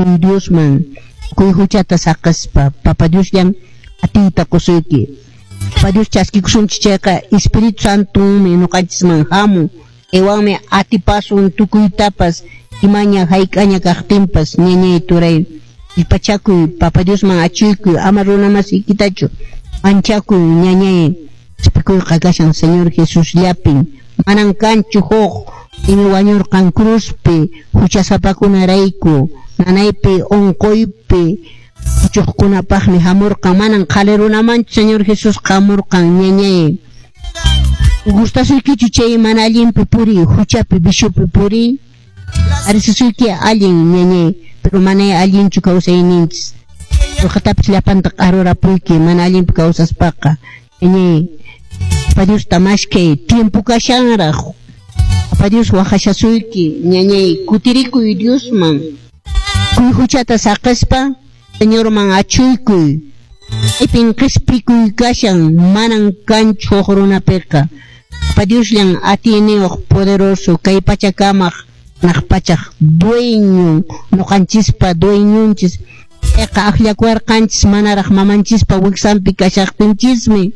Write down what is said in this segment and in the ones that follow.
Kutirikuy Diosman, tukuy huchata saqespa, Papa Diosllan atiyta qusuyki. Papa Dios chaskikusunchis chayqa Espíritu Santonmi ñuqanchisman hamun, chaywanmi atipasun tukuytapas imaña hayk'aña kaqtinpas. Ñañay turay, kallpachakuy, Papa Diosman achuykuy, ama runa masiykitachu manchakuy, ñañay. Qhispikuyqa kashan Señor Jesusllapin, manan kanchu huk. Paymi wañurqan cruzpi huchasapakunarayku, nanaypi unquypi puchuqkunapaqmi hamurqan, manan qhali runamanchu Señor Jesusqa hamurqan, ñañay. Gustasuykichu chay mana allinpi puriy, huchapi, viciopi puriy? Parecisuyki allin, ñañay, pero manay allinchu kawsayninchis. Qolqetapis llapanta q'arurapuyki mana allinpi kawsaspaqa, ñañay. Papa Diosta maskhay, tiempo kashanraq. Papa Dios waqashasuyki, ñañay, kutirikuy Diosman. Tukuy huchata saqespa, Señorman achuykuy. Chaypin qhispikuy kashan, manan kanchu huk runapiqa. Papa Diosllan atiyniyuq, poderoso, kay pachakamaq, hanaq pachaq dueñon, ñuqanchispa dueñonchis. Payqa akllakuwarqanchis manaraq mamanchispa wiksanpi kashaqtinchismi.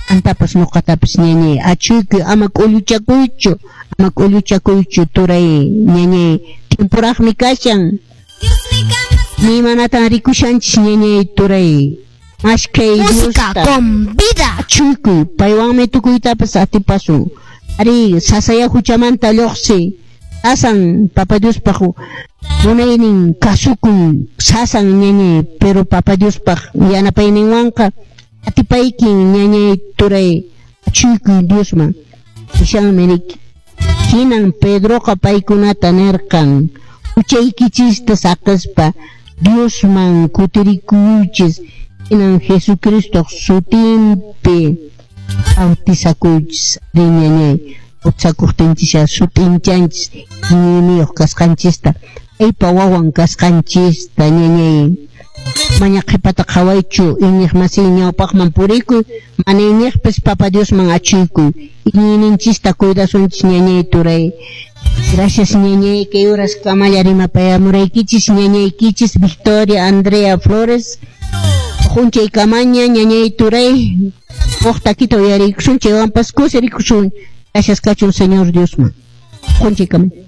Antapas ñuqatapis, ñañay, achuykuy, ama k'ulluchakuychu, ama k'ulluchakuychu, turay, ñañay, tiemporaqmi kashan. Imaymanatan rikushanchis, ñañay, turay. Maskhay Música Diosta. Con vida. Achuykuy, paywanmi tukuytapas atipasun. Ari, sasaya huchamanta lluqsi. Sasan Papa Diospaq munaynin kasukuy, sasan, ñañay, pero Papa Diospaq yanapayninwanqa atipaykin, ñañay, turay, achuykuy Diosman. Nishanmi riki. Hinan Pedroqa paykunata nirqan, huchaykichista saqespa Diosman kutirikuychis, hinan Jesucristoq sutinpi bautizakuychis. Ari, ñañay, bautizakuqtinchisya sut'inchanchis iñiyniyuq kasqanchista, paypa wawan kasqanchista, ñañay. Maña qhipata qhawaychu, iñiq masiy, ñawpaqman purikuy, mana iñiqpis Papa Diosman achuykuy. Iñiyninchista cuidasunchis, ñañay, turay. Gracias, ñañay, kay horas kamalla rimapayamuraykichis, ñañaykichis Victoria Andrea Flores. Junchay kamaña, ñañay, turay, huk takita uyarikusun, chaywanpas kusirikusun. Gracias kachun Señor Diosman. Junchay kamaña.